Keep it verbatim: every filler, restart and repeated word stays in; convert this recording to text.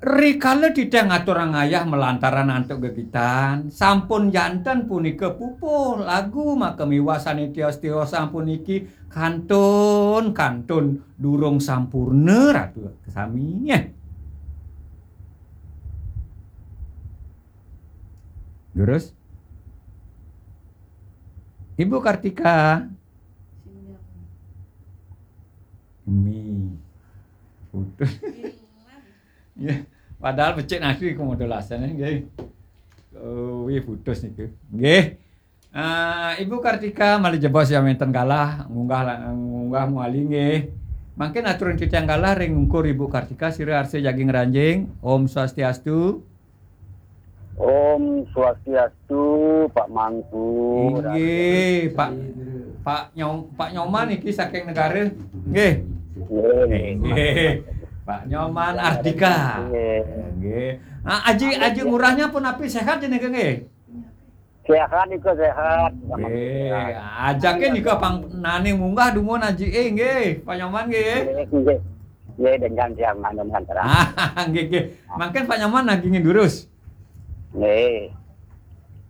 Rikala titiang ngaturang ayah malantaran antuk gegitan, sampun janten punika pupuh lagu maka miwah sané tios-tiosan puniki kantun, kantun durung sampurna, Ratu sami. Durus? Ibu Kartika. Mi. Putus. Ya, padahal becik nasi ke modulasannya, nggih. Oh, wih, putus niku. Nggih. Ah, Ibu Kartika malih jebos ya wénten galah ngunggah la- ngunggah muali, nggih. Mangkin aturan titiang galah ring ungkur Ibu Kartika, sira arsa jagi ngranjing. Om Swastiastu. Om Swastiastu, Pak Mangku. Inggih, Pak Pak Nyom Pak Nyoman iki saking negara. Nggih. Nggih. Nggih. Pak Nyoman Ardika. Nggih. Nggih. Ah, Aji Aji Ngurahnya pun api sehat jenenge, nggih? Sehat niku, sehat. Nggih. Ajaké nika pang nane munggah dumun Aji, eh, nggih, Pak Nyoman, nggih. Nggih, nggih. Nggih, dengan siang malam lantaran. Ah, nggih, nggih. Mangkin Pak Nyoman nagingin durus. Nggih.